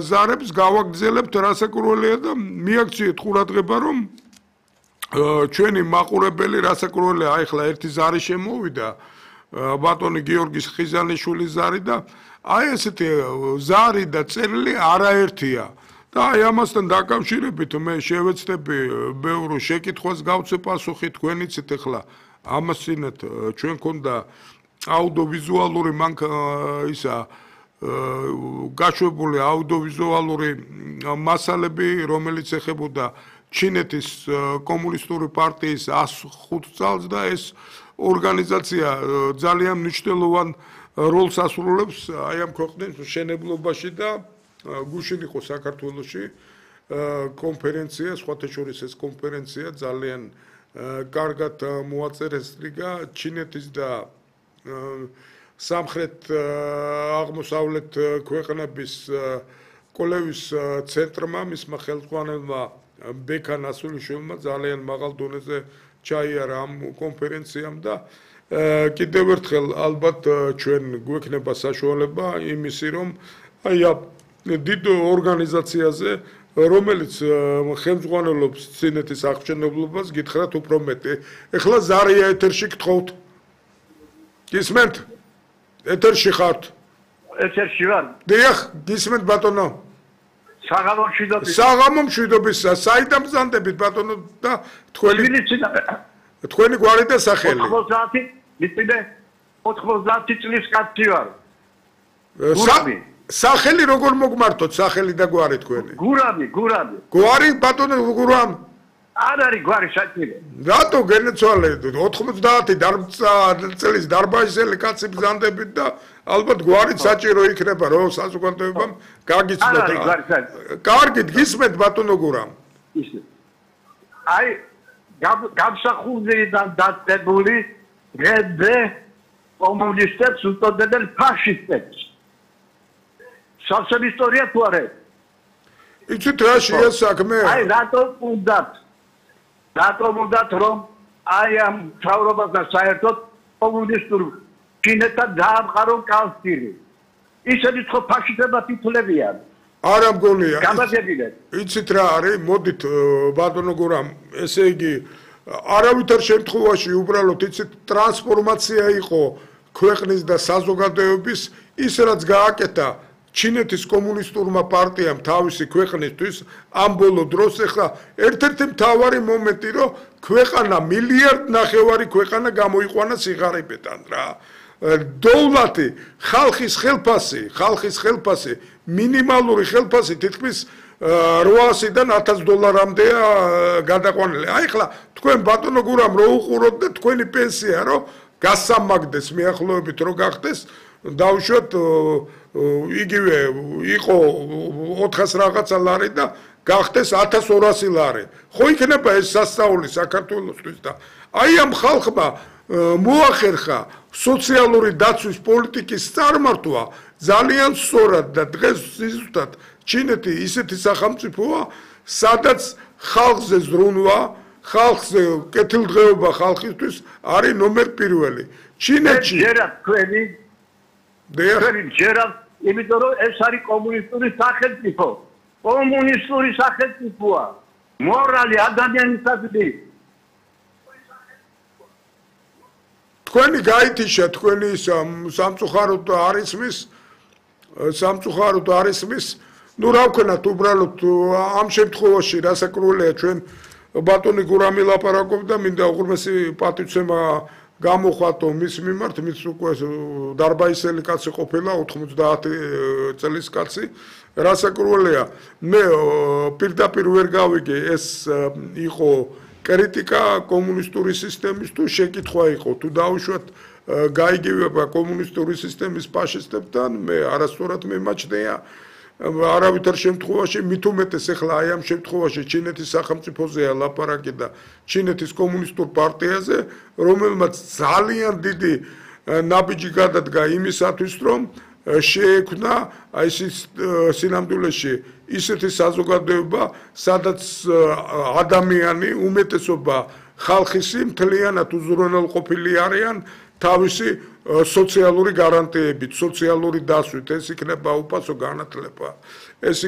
ზარებს გავაგრძელებთ რასაკურველია და მიაქციეთ ყურადღება რომ ჩვენი მაყურებელი რასაკურველია ახლა ერთი ზარი შემოვიდა ბატონი გიორგის ხიზანიშვილის ზარი და აი ესეთი ზარი და წერილი არაერთია და აი ამასთან დაკავშირებით მე შევეცდები ბევრ შეკითხვას გავცე პასუხი თქვენ იცით ახლა ამასინათ ჩვენ ქონდა აუდიოვიზუალური ისა გაშვებული აუდიოვიზუალური მასალები რომელიც ეხებოდა ჩინეთის კომუნისტური პარტიის 105 წელს და ეს ორგანიზაცია ძალიან მნიშვნელოვან როლს ასრულებს აი ამ ქვეყნის მშენებლობაში და გუშინ იყო საქართველოში კონფერენცია, სხვათა შორის ეს კონფერენცია ძალიან კარგად მოაწერეს რიგა ჩინეთის და სამხრეთ აღმოსავლეთ ქვეყნების კოლევის ცენტრმა მისმა ხელმძღვანელმა ბექან ასულიშვილმა ძალიან მაღალ დონეზე ჩაიარა ამ კონფერენციამ და კიდევ ერთხელ ალბათ ჩვენ გვექნება საშუალება იმისი რომ აი დიდ ორგანიზაციაზე რომელიც ხელმძღვანელობს წინეთის აღჭენებლობას გითხრათ უფრო მეტი ეხლა ზარია ეთერში გთხოვთ გისმენთ ეთერში ხართ ეთერში ვარ დიახ გისმენთ ბატონო საღამო მშვიდობის საიდან ბრძანდებით ბატონო და თქვენი გვარი და სახელი 90 წლის კაცი ვარ სახელი როგორ მოგმართოთ სახელი და გვარი თქვენი გურამი გვარი ბატონო გურამ არ არის გვარი საჭირო რატო გენეცვალე 90 წლის დარბაზელი კაცი ბრძანდებით და ალბათ გვარით საჭირო იქნება რომ საზოგადოებამ გაგიცნოთ კარგით გისმენთ ბატონო გურამ აი გამსახურდიდან დაწყებული რედე კომუნისტებს უტოდებენ ფაშისტებს სოციალ ისტორია თუ არა იცით რა შეა საქმე აი რატომ უნდათ რომ აი ამ თავრობასთან საერთოდ კომუნისტურ ჩინეთთან დაამყარონ კავშირი ისინი ხო ფაშისტებად ითვლებიან არა მგონია გამაგებინეთ იცით რა არის მოდით ბატონო გურამ ესე იგი არავითარ შემთხვევაში უბრალოდ იცით ტრანსფორმაცია იყო ქვეყნის და საზოგადოების ის რაც გააკეთა ჩინეთის კომუნისტურმა პარტიამ თავისი ქვეყნისთვის ამ ბოლო დროს ახლა ერთ-ერთი მთავარი მომენტი რომ ქვეყანა მილიარდ ნახევარი ქვეყანა გამოიყვანა სიღარიბედან რა დოვლათი ხალხის ხელფასი მინიმალური ხელფასი თითქმის 800-დან $1000-მდეა გადაყვანილი აი ახლა თქვენ ბატონო გურამ რო უყუროთ და თქვენი პენსია რო გასამაგდეს მიახლოებით რო გახდეს დავუშვათ იგივე იყო 400 რაღაცა ლარი და გახდეს 1200 ლარი. ხო იქნება ეს სასწაული საქართველოსთვის და აი ამ ხალხმა მოახერხა სოციალური დაცვის პოლიტიკის წარმართვა ძალიან სწორად და დღეს ზუსტად ჩინეთი ისეთი სახელმწიფოა სადაც ხალხზე ზრუნვა ხალხზე კეთილდღეობა ხალხისთვის არის ნომერ პირველი ჩინეთში ჯერა იმიტომ რომ ეს არის კომუნისტური სახელმწიფო კომუნისტური სახელმწიფოა მორალი ადამიანისადმი თქვენი გაითიშა თქვენი სამწუხაროდ არისმის ну რა ვქნათ უბრალოდ ამ შემთხვევაში რასაკურველია ჩვენ ბატონი გურამი ლაპარაკობდა მინდა უღრმესი პატივცემა გამოხატო მის მიმართ მის უკვე დარბაისელი კაცი ყოფილა 90 წლის კაცი რასაკურველია მე პირდაპირ ვერ გავიგე ეს იყო კრიტიკა კომუნისტური სისტემის თუ შეკითხვა იყო თუ დაუშვათ გაიგივება კომუნისტური სისტემის ფაშისტებთან მე არასწორად მემაჩნია არავითარ შემთხვევაში მით უმეტეს ახლა აი ამ შემთხვევაში ჩინეთის სახელმწიფოზეა ლაპარაკი და ჩინეთის კომუნისტურ პარტიაზე რომელმაც ძალიან დიდი ნაბიჯი გადადგა იმისათვის რომ შეექმნა აი სინამდვილეში ისეთი საზოგადოება სადაც ადამიანი უმეტესობა ხალხისი მთლიანად უზრუნველყოფილი არიან თავისი სოციალური გარანტიებით, სოციალური დასვით, ეს იქნება უფასო განათლება, ეს